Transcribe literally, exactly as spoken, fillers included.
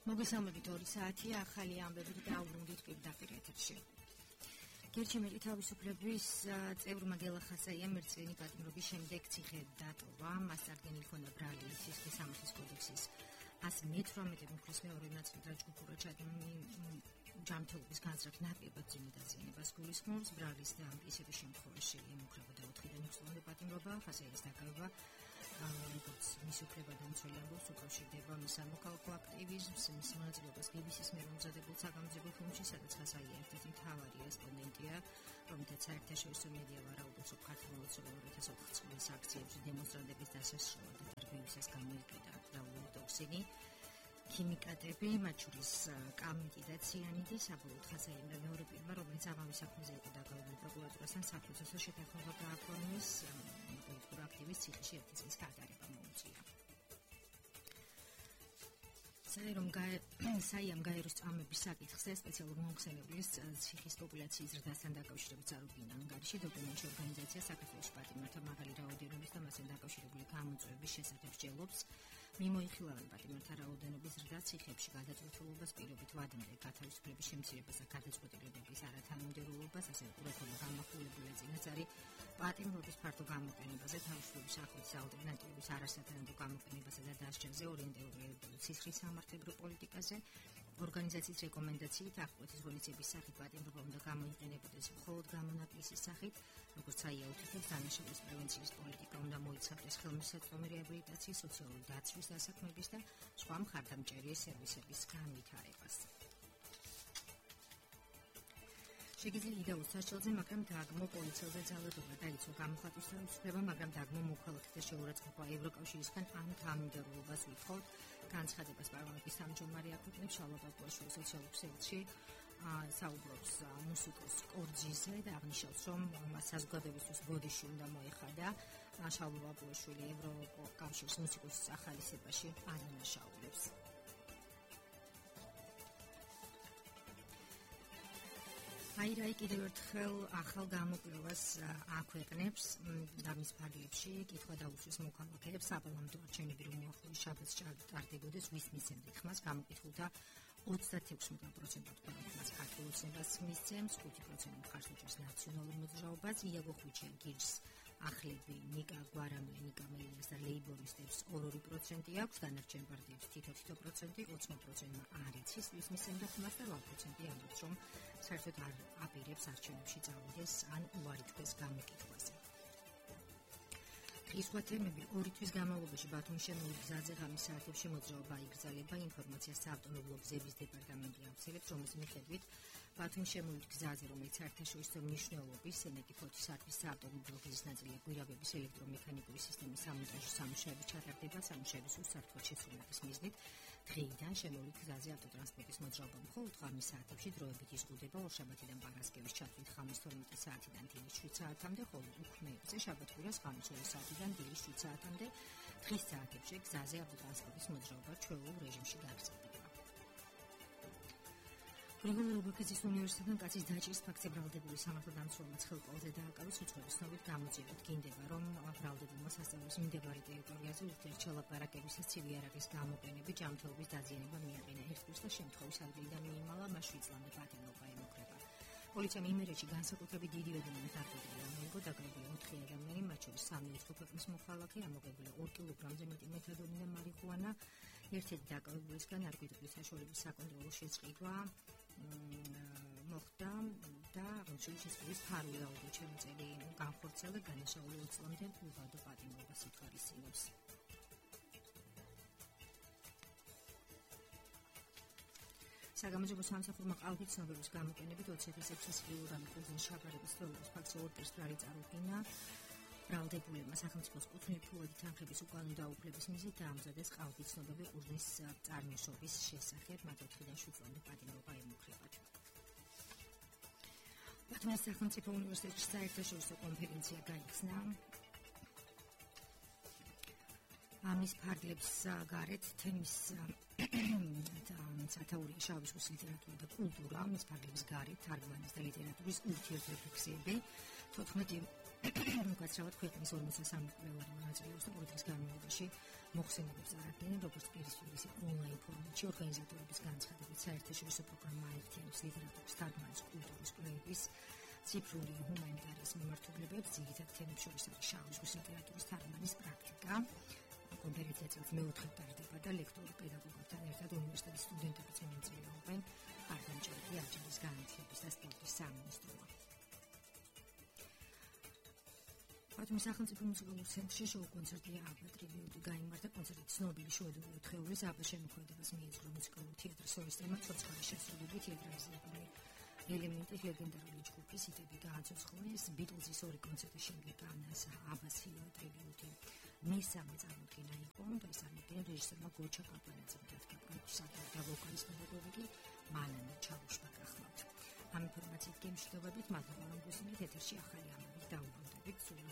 მოგესალმებით ორი საათი ახალი ამბებით დაუბრუნდით პირდაპირ ეთერში. გერჩემელი თავისუფლების წევრმა გელახასაიამ მერწენი პატიმრობის შემდეგ ციხე დატოვა. მას წარდგენილი ჰქონდა ბრალი სისხლის სამართლის კოდექსის ასი მეთვრამეტე მუხლის მეორე ნაწილთან ჯგუფურად ჯანმრთელობის განსაკუთრებით ნაპირებად ძიმე დაზიანებას გულისხმობს. ბრალის და ისეთი შემთხვევაში ემუქრებოდა ოთხიდან ექვსი წლამდე პატიმრობა, ხასიათის დაკავება, როგორც მის უფლებადამცველი ამბობს, უკავშირდება მის სამოქალაქო აქტივიზმს, მის მონაწილეობას ბიბისის მიერ მომზადებულ საგამოძიებო ფილმში, სადაც ხასაია ერთ-ერთი მთავარი რესპონდენტია, რომელთაც საერთაშორისო მედია ვარაუდობს, რომ ქართულ ორი ათას ოთხ წლის აქციებში დემონსტრანტების დასასრულად და ბიბისას გამოიყედა დაულო ტოქსინი. ქიმიკატები, მათ შორის კამიტი და ციანიდი, საბოლოოდ ხასაიამ და მეორე პირმა, რომელიც ამავე საქმეზე იყო დაკავებული პროკურატურასთან საფრთხესო შეთანხმება გააფორმეს, პოლიტიკურ აქტივისტს ციხეში ერთი წლის გატარება მოუწია. საიამ გაეროს წამების საკითხზე სპეციალურ მომხსენებლის ციხის პოპულაციის ზრდასთან დაკავშირებით წარუდგინა ანგარიში დოკუმენტში ორგანიზაცია საქართველოს პატიმართა მაღალი რაოდენობის და მასთან დაკავშირებული გამოწვევების შესახებ სჯელობს. მიმოიხილავენ პატიმართა რაოდენობის ზრდა ციხეებში გადაწყვეტილებას პირობით ვადიმერ გათავისუფლების შემცირებას და გადაწყვეტილებების არათანმიმდევრულობას, ასევე ყურადღება გამახვილებულა წინასწარი პატიმრობის ფართო გამოყენებაზე, თავისუფლების ახლობის ალტერნატივების არასათანადო გამოყენებაზე და დასჯაზე, ორიენტირებული ციხის სამართლებრივ პოლიტიკაზე. ორგანიზაციის რეკომენდაციით აღკვეთის ღონისძიების სახით პატიმრობა უნდა გამოიყენებოდეს მხოლოდ გამონაკლისის სახით, როგორც საია უთითებს, დანაშაულის პრევენციის პოლიტიკა უნდა მოიცავდეს ხელმისაწვდომი რეაბილიტაციის, სოციალური დაცვის დასაქმების და სხვა მხარდამჭერი სერვისების განვითარებას. შეგიძლია იდეოს საშუალზე, მაგრამ დაგმო პოლიციელზე ძალადობა დაიცვა გამოხატვის თავისუფლება, მაგრამ დაგმო მოქალაქეთა შეურაცხყოფა ევროკავშირისგან ამ თანმიმდევრულობას ვითხოვთ. განცხადებას პარლამენტის სამჯდომარე აქვეყნებს შალვა ბაბუაშვილი სოციალურ ქსელში, საუბრობს მუსიკოს კორძიზე და აღნიშნავს, რომ მას საზოგადოებისთვის ბოდიში უნდა მოეხადა. შალვა ბაბუაშვილი ევროკავშირის მუსიკოს ახალისებაში ადანაშაულებს. აირაი კიდევ ერთხელ ახალ გამოკვლევას აქვეყნებს და მის ფარგლებში კითხვა დაუსვეს მოქალაქეებს საპარლამენტო არჩევნები რომ მოახლოების შაბათს ტარდებოდეს ვის მისცემთ ხმას გამოკითხულთა ოცდაექვსი პროცენტად ქვეყანას ქართულ ოცნებას მისცემს, ხუთი პროცენტი მხარს უჭერს ნაციონალურ მოძრაობას, იაგო ხვიჩე გირს ახლები ნიკა გვარამია, ნიკა მელიას და ლეიბორისტებს ორი პროცენტი აქვს, დანარჩენ პარტიებს თითო-თითო პროცენტი, ოცდა პროცენტმა არ იცის ვის მისცემდა ხმას და რვა პროცენტი ამბობს, რომ საერთოდ არ აპირებს არჩევნებში წავიდეს ან უარი თქვეს გამოკითხვაზე. სხვა თემები ორი თვის განმავლობაში ბათუმის შემოვლ გზაზე ღამის საათებში მოძრაობა იგრძელება. ინფორმაციას საავტომობილო გზების დეპარტამენტი აღწერებს, რომლის მიხედვით ბათუმის შემოვლ გზაზე, რომელიც საერთაშორისო მნიშვნელობის სენეკი ფოთის არხის საავტომობილო გზის ნაწილია, გვირაბების ელექტრომექანიკური სისტემის სამონტაჟო სამუშაოები ჩატარდება. სამუშაოების უსაფრთხოდ შესრულების მიზნით დღეიდან შემოვლ გზაზე ავტოტრანსპორტის მოძრაობა მხოლოდ ღამის საათებში დროებით იზღუდება. ორშაბათიდან პარასკევის ჩათვლით ღამის თორმეტ საათიდან დილის შვიდ საათამდე, ხოლო უქმეებზე შაბათ-კვირას ღამის ორი საათიდან დილის შვიდ საათამდე. დღის საათებში გზაზე ავტოტრანსპორტის მოძრაობა ჩვეულებრივ რეჟიმში გაგრძელდება. გრიგოლ რობაქიძის უნივერსიტეტთან კაცის დაჭრის ფაქტზე ბრალდებული სამართალდამცველმა ხელყოლზე დააკავეს უცხოების ცნობით გამოძიებით. გინდება, რომ ბრალდებულმა სასწავლებლის მიმდებარე ტერიტორიაზე ურთიერთშელაპარაკებისას ცივი იარაღის გამოყენებით ჯანმრთელობის დაზიანება მიაყენა. ერთ კურსს და შემთხვევის ადგილიდან მიიმალა, მას შვიდ წლამდე პატიმრობა ემუქრება. პოლიციამ იმერეთში განსაკუთრებით დიდი ოდენობით ნარკოტიკები ამოიღო, დაკავებულია ოთხი ადამიანი, მათ შორის სამი უცხო ქვეყნის მოქალაქე, ამოღებულია ორი კილოგრამზე მეტი მეთადონი და მარიხუანა. ერთ-ერთი დაკავებულისგან ნარკოტიკების საშუალების საკონტროლო შეწყვეტა მოხდა და აღნიშნული შესწავლის ფარული აუდიო შემოწელი განხორციელა განაშაული ორი წლამდე უღადო პატიმრობას ითვალისწინებს. საგამოძიებო სამსახურმა ყალბით ცნობების გამოყენებით ოცი ათას ექვსას კილოგრამი ყურძნის შაბარების თვალობის ფაქტზე ორ პირს ბრალი წარუდგინა. ბრალდებულებმა სახელმწიფოს კუთვნილი ფულადი თანხების უკანონო დაუფლების მიზნით დაამზადეს ყალბით ცნობები ყურძნის წარმოშობის შესახებ, მათ ოთხიდან შვიდ წლამდე პატიმრობა ემუქრებათ. ბათუმის სახელმწიფო უნივერსიტეტში საერთაშორისო კონფერენცია გაიხსნა. ამის ფარგლებს გარეთ თემის სათაურია შავი ზღვის ლიტერატურა და კულტურა, ამის ფარგლებს გარეთ თარგმანის და ლიტერატურის ურთიერთრეფლექსიები. თოთხმეტი უკაცრავად ქვეყნის ორმოცდასამი კვლევარი მონაწილეობს და ყოველდღის განმავლობაში მოხსენებებს არადგენენ, როგორც პირისპირ ისე ონლაინ ფორმატში ინტერნეტში ორგანიზატორების განცხადებით საერთაშორისო პროგრამა აერთიანებს ლიტერატურის თარგმანის კულტურის კვლევების ციფრული ჰუმანიტარიის მიმართულებებს, ძირითადად თემებს შორის არის შავი ზღვის ლიტერატურის თარგმანის პრაქტიკა. კონფერენცია წელს მეოთხედ ტარდება და ლექტორი პედაგოგებთან ერთად უნივერსიტეტის სტუდენტებიც მონაწილეობენ. არგანჭერგი აჯილის განათლების და სპორტის სამინისტროა. ბათუმის სახელმწიფო მუსიკალურ ცენტრში შოუ კონცერტი აბა ტრიბიუტი გაიმართა. კონცერტი ცნობილი შვედური ოთხეულის აბა შემოქმედებას მიეძღვნა მუსიკალურ თეატრს სოლისტებმა ცოცხალი შესრულებით თეატრალიზებული ელემენტი ლეგენდარული ჯგუფის იტები გააცოცხლეს. ბიტლზის ორი კონცერტის შემდეგ ანას აბას ჰილო ტრიბიუტი მესამე წარმოდგენა იყო და ეს წარმოდგენა რეჟისორმა გოჩა პაპანაძემ დადგა პროდიუსერმა და ვოკალის პედაგოგი მალანა ჩავუშმა გახლავთ. ამ ინფორმაციით გემშვიდობებით მადლობა რომ გუსმენთ ეთერში ახალი ამბებით დაუბრუნდებით სულ